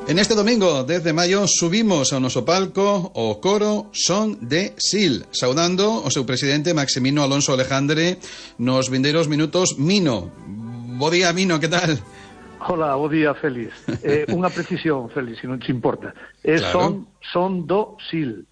En este domingo, 10 de maio, subimos ao noso palco o coro Son de Sil, saudando o seu presidente Maximino Alonso Alejandre nos vindeiros minutos. Mino, bo día, Mino, que tal? Hola, bo día, Félix. Unha precisión, Félix, se non te importa. Claro. Son do Sil.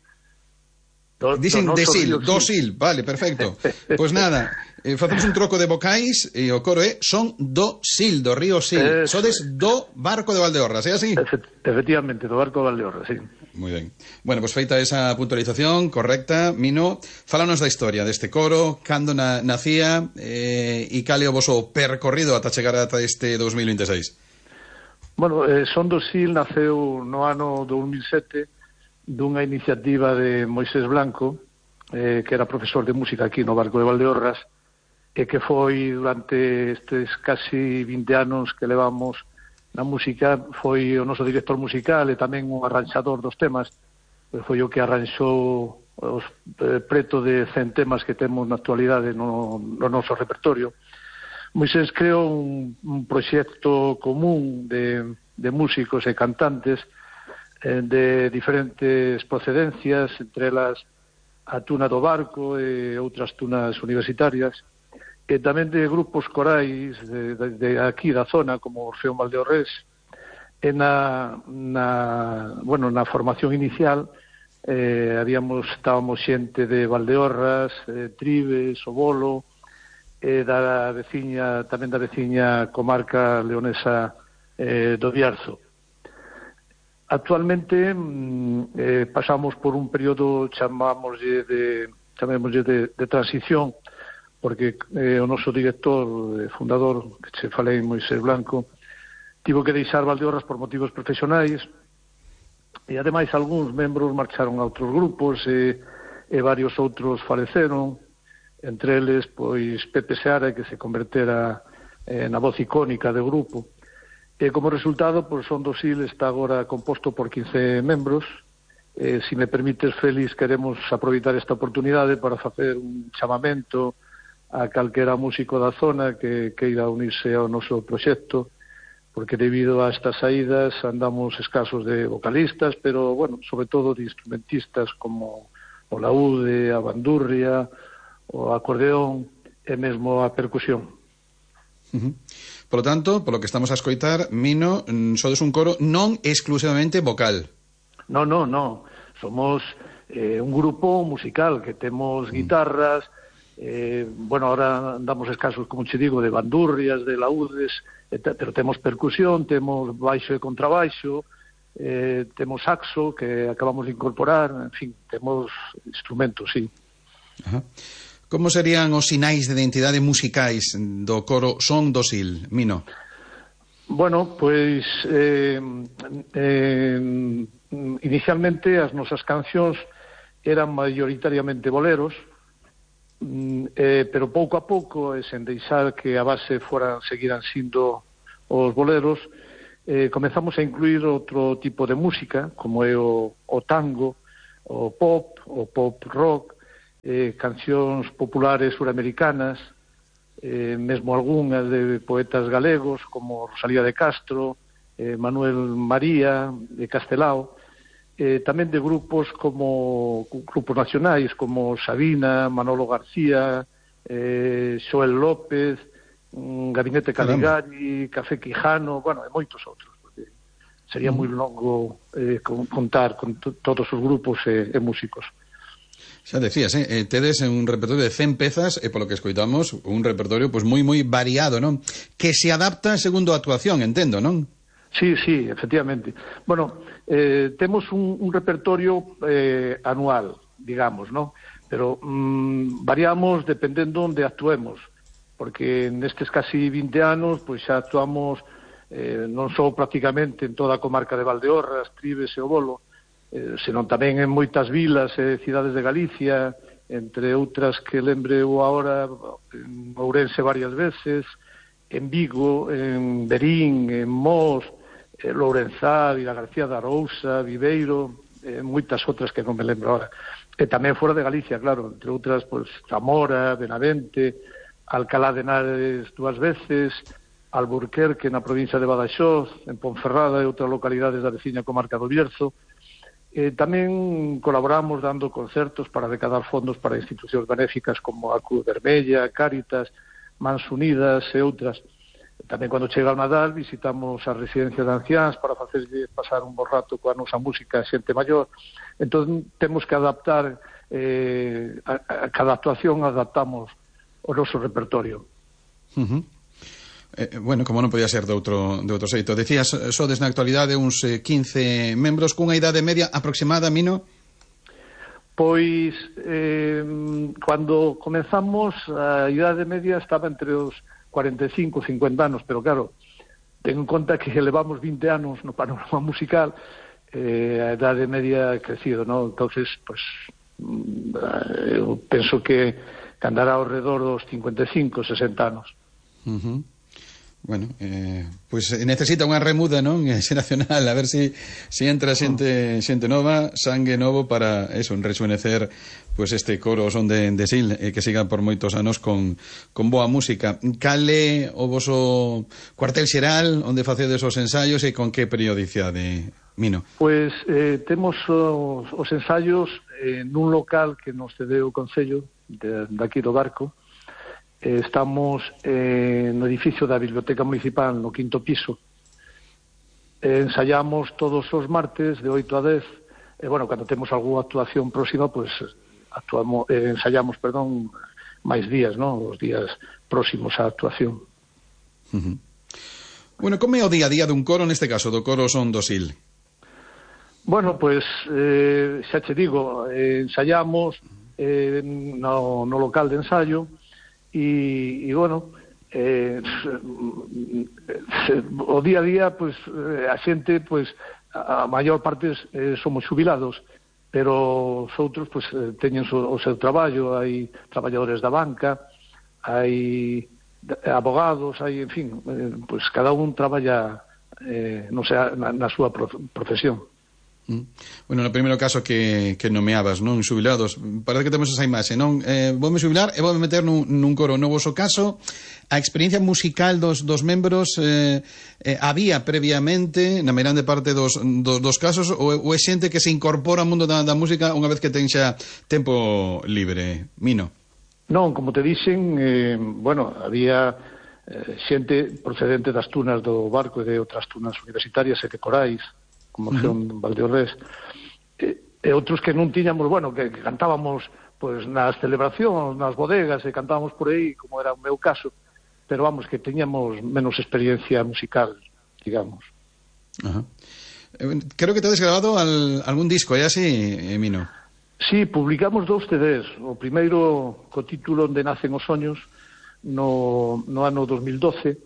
Dicen de Sil, do Sil, vale, perfecto. Pois nada, facemos un troco de vocais e o coro é Son do Sil, do río Sil. Sodes do barco de Valdeorras, é así? Efectivamente, do barco de Valdeorras, sí. Moi ben. Bueno, pois feita esa puntualización correcta, Mino, fálanos da historia deste coro, cando nacía e cal é o voso percorrido ata chegar ata este 2026. Bueno, Son do Sil naceu no ano 2007 dunha iniciativa de Moisés Blanco, que era profesor de música aquí no barco de Valdeorras, e que foi durante estes casi 20 anos que levamos na música, foi o noso director musical e tamén o arranxador dos temas, foi o que arranxou os preto de 100 temas que temos na actualidade no noso repertorio. Moisés creou un proxecto común de músicos e cantantes de diferentes procedencias, entre elas a tuna do barco e outras tunas universitarias, e tamén de grupos corais de aquí da zona, como Orfeón Valdeorrés. E na formación inicial estábamos xente de Valdeorras, Tribes, O Bolo, e tamén da veciña comarca leonesa do Bierzo. Actualmente pasamos por un período chamémoslle de transición, porque o noso director, fundador, que che falei, Moisés Blanco, tivo que deixar Valdeorras por motivos profesionais, e ademais algúns membros marcharon a outros grupos e varios outros faleceron, entre eles pois Pepe Seara, que se convertera na voz icónica do grupo. E como resultado, pois, Son do Sil está agora composto por 15 membros. Se me permites, Félix, queremos aproveitar esta oportunidade para facer un chamamento a calquera músico da zona que queira unirse ao noso proxecto, porque debido a estas saídas andamos escasos de vocalistas, pero, bueno, sobre todo de instrumentistas como o laúde, a bandurria, o acordeón e mesmo a percusión. Por lo tanto, polo que estamos a escoitar, Mino, sodes un coro non exclusivamente vocal. No. Somos un grupo musical que temos guitarras, ahora andamos escasos, como che digo, de bandurrias, de laúdes, pero temos percusión, temos baixo e contrabaixo, temos saxo, que acabamos de incorporar, en fin, temos instrumentos, sí. Ajá. Como serían os sinais de identidade musicais do coro Son do Sil, Mino? Bueno, pois inicialmente as nosas cancións eran maioritariamente boleros, pero pouco a pouco, sen deixar que a base seguiran sindo os boleros, comezamos a incluir outro tipo de música, como é o tango, o pop rock, cancións populares suramericanas, mesmo algunhas de poetas galegos como Rosalía de Castro, Manuel María de Castelao, tamén de grupos nacionais como Sabina, Manolo García, Xoel López, Gabinete Caligari, Café Quijano, e moitos outros, porque sería moi longo contar con todos os grupos e músicos. Xa decías, tedes un repertorio de 100 pezas e polo que escoitamos un repertorio pois moi variado, non? Que se adapta segundo a actuación, entendo, non? Sí, efectivamente. Bueno, temos un repertorio anual, digamos, non? Pero variamos dependendo onde actuemos, porque nestes casi 20 anos pois xa actuamos non só prácticamente en toda a comarca de Valdeorras, Tribes e O Bolo, senón tamén en moitas vilas e cidades de Galicia, entre outras que lembre eu agora, en Ourense varias veces, en Vigo, en Verín, en Mos, Lourenzá, Vila García de Arousa, Viveiro, moitas outras que non me lembro agora. E tamén fora de Galicia, claro, entre outras, pois, Zamora, Benavente, Alcalá de Henares 2 veces, Alburquerque na provincia de Badaxoz, en Ponferrada e outras localidades da veciña comarca do Bierzo. Tamén colaboramos dando concertos para recadar fondos para institucións benéficas como a Cruz Vermella, Cáritas, Mans Unidas e outras. Tamén cando chega o Nadal visitamos a residencia de anciáns para facerlle pasar un bo rato coa nosa música a xente maior. Entón temos que adaptar a cada actuación adaptamos o noso repertorio. Bueno, como non podía ser de outro xeito. Decías, sodes na actualidade uns 15 membros cunha idade media aproximada, Mino? Pois, cando comenzamos, a idade media estaba entre os 45 e 50 anos, pero claro, ten en conta que levamos 20 anos no panorama musical, a idade media ha crecido, ¿no? Entonces, pues, eu penso que andará ao redor dos 55, 60 anos. Bueno, pois necesita unha remuda, non? Xeracional, a ver si entra xente nova, sangue novo para eso, rejuvenecer pois este coro Son de Sil, que siga por moitos anos con boa música. Cale o voso cuartel xeral onde facedes os ensaios e con que periodicidade, Mino? Pois temos os ensaios nun local que nos cedeu o Concello daqui do Barco. Estamos no edificio da Biblioteca Municipal no 5º piso. Ensaiamos todos os martes de 8 a 10. Bueno, cando temos algunha actuación próxima, pues ensaiamos, máis días, ¿no? Os días próximos á actuación. Bueno, como é o día a día dun coro, neste caso, do coro Son do Sil? Bueno, pues xa che digo, ensaiamos no local de ensaio. E bueno, o día a día, pues, a xente, pues, a maior parte somos xubilados, pero os outros, pues, teñen o seu traballo, hai traballadores da banca, hai abogados, hai, en fin, pues, cada un traballa, non sei, na súa profesión. Bueno, no primeiro caso que nomeabas, non? Xubilados, parece que temos esa imaxe, non? Voume xubilar e voume meter nun coro. No voso caso, a experiencia musical dos membros había previamente, na meirande parte dos casos, ou é xente que se incorpora ao mundo da música unha vez que ten xa tempo libre? Mino? Non, como te dixen, bueno, había xente procedente das tunas do Barco e de outras tunas universitarias e de corais, como son Valdeorrés, e outros que non tiñamos, bueno, que cantábamos pues nas celebracións, nas bodegas, e cantábamos por aí, como era o meu caso, pero vamos, que teñamos menos experiencia musical, digamos. Creo que tedes grabado algún disco, é así, Mino? Sí, publicamos 2 CDs, o primeiro co título Onde nacen os soños, no ano 2012,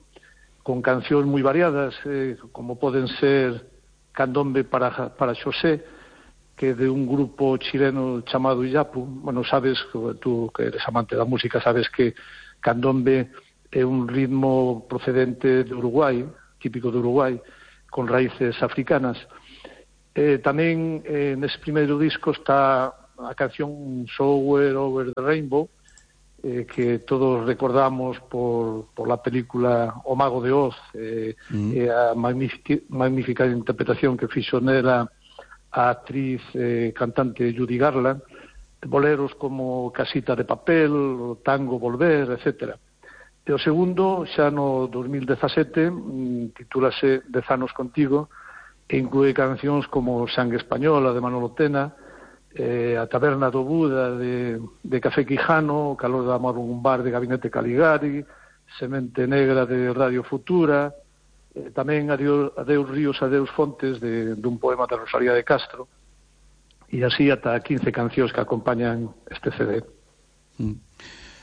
con cancións moi variadas, como poden ser Candombe para Xosé, que é de un grupo chileno chamado Illapu. Bueno, sabes, tú que eres amante da música, sabes que Candombe é un ritmo procedente de Uruguai, típico de Uruguai, con raíces africanas. Tamén nese primeiro disco está a canción Somewhere Over the Rainbow, que todos recordamos por la película O Mago de Oz, e a magnífica interpretación que fixo nela a actriz cantante Judy Garland, boleros como Casita de Papel, o Tango Volver, etc. E o segundo, xa no 2017, titúlase 10 anos contigo, e inclúe cancións como Sangue Española de Manolo Tena, a Taberna do Buda de Café Quijano, Calor de Amor un bar de Gabinete Caligari, Semente Negra de Radio Futura, tamén Adeus Ríos, Adeus Fontes dun poema de Rosalía de Castro, e así ata 15 cancións que acompañan este CD.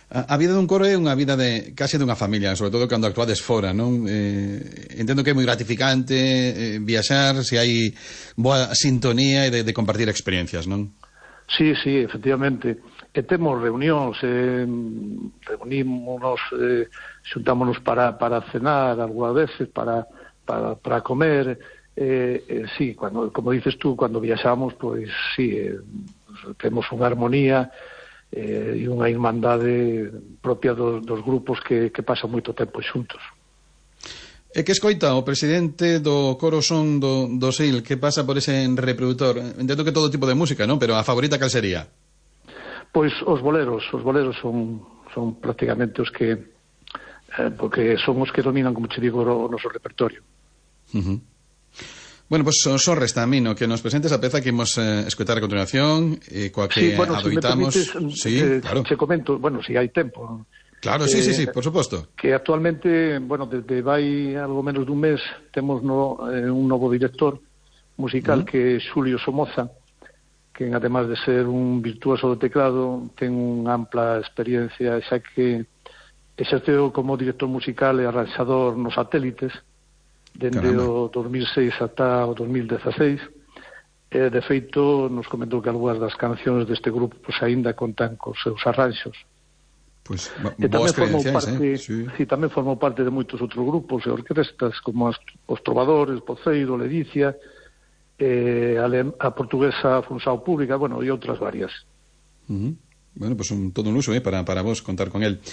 A vida dun coro é unha vida case dunha familia, sobre todo cando actuades fora, non? Entendo que é moi gratificante viaxar, se hai boa sintonía e de compartir experiencias, non? Sí, efectivamente. E temos reunións, reunímonos, xuntámonos para cenar algunhas veces, para comer. Sí, como dices tú, cando viaxamos, pois sí, temos unha armonía e unha irmandade propia dos grupos que pasan moito tempo xuntos. E que escoita o presidente do Coro Son do SIL, que pasa por ese reproductor? Entendo que todo tipo de música, non? Pero a favorita cal sería? Pois os boleros son prácticamente os que porque son os que dominan, como te digo, o noso repertorio. Bueno, pois só resta a mí, no, que nos presentes a peza que imos escoitar a continuación, coa que adoitamos... Claro. Te comento, se hai tempo... Claro, sí, por suposto. Que actualmente, desde vai algo menos dun mes, temos un novo director musical que é Xulio Somoza, que además de ser un virtuoso do teclado, ten unha ampla experiencia, xa que exerceu como director musical e arranxador nos satélites, dende o 2006 ata o 2016, e de feito nos comentou que algunhas das cancións deste grupo aínda contan cos seus arranxos. Pois, boas credenciais, tamén formou parte de moitos outros grupos e orquestas, como os Trovadores, Poceiro, Ledicia, a portuguesa Funsao Pública, e outras varias. Bueno, pois todo un luxo para vos contar con el.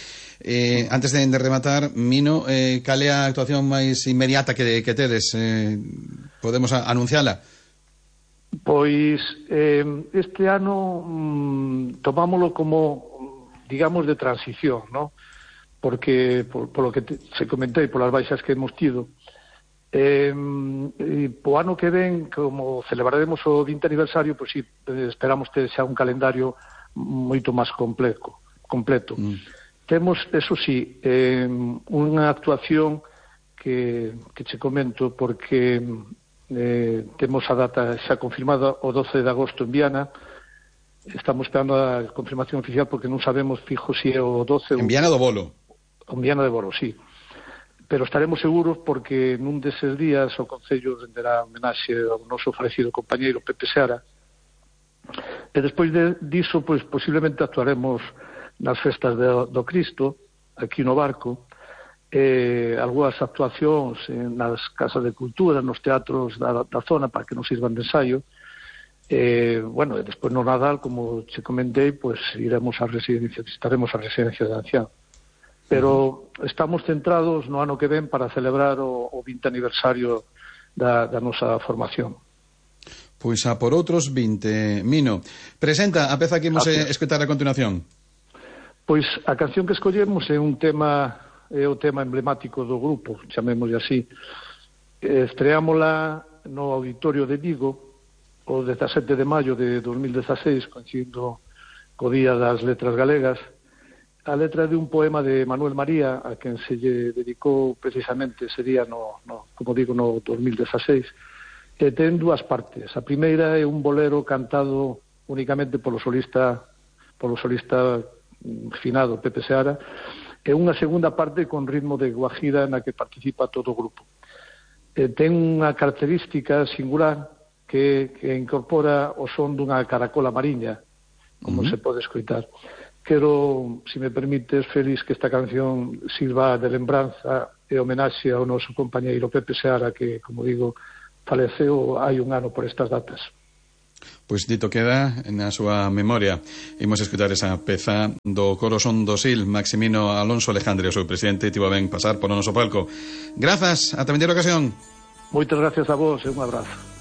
Antes de rematar, Mino, cal é a actuación máis inmediata que tedes? Podemos anunciala? Pois este ano tomámoslo como, digamos, de transición, ¿no? Porque, por lo que se comentei, por as baixas que hemos tido, po ano que ven, como celebraremos o 20 aniversario, pois esperamos ter xa un calendario moito máis completo. Temos, eso sí, unha actuación que che comento, porque temos a data xa confirmada o 12 de agosto en Viana. Estamos esperando a confirmación oficial porque non sabemos fijo se é o 12 en Viana do Bolo. En Viana de Bolo, sí. Pero estaremos seguros porque nun deses días o Concello renderá homenaxe ao noso falecido compañeiro Pepe Seara. E despois diso, pois, posiblemente actuaremos nas festas do Cristo, aquí no Barco, algunhas actuacións nas casas de cultura, nos teatros da zona, para que nos sirvan de ensaio. E despois no Nadal, como che comentei, pois iremos a residencia, visitaremos a residencia de ancián. Pero estamos centrados no ano que ven para celebrar o 20 aniversario da nosa formación. Pois a por outros 20. Mino, presenta a peza que imos escoitar a continuación. Pois a canción que escollemos é o tema emblemático do grupo, chamémoslle así. Estreámola no Auditorio de Vigo o 17 de maio de 2016, coincidindo co Día das Letras Galegas. A letra de un poema de Manuel María, a quen se lle dedicou precisamente ese día como digo, no 2016, e ten dúas partes. A primeira é un bolero cantado únicamente polo solista finado Pepe Seara, e unha segunda parte con ritmo de guajira na que participa todo o grupo. Ten unha característica singular que incorpora o son dunha caracola mariña, como se pode escoitar. Quero, se me permites, Félix, que esta canción sirva de lembranza e homenaxe ao noso compañeiro Pepe Seara, que, como digo, faleceu hai un ano por estas datas. Pois dito queda na súa memoria. Imos escutar esa peza do Coro Son do SIL, Maximino Alonso Alejandre, o seu presidente, tivo ben pasar por o noso palco. Grazas, ata vindeira ocasión. Moitas gracias a vos e un abrazo.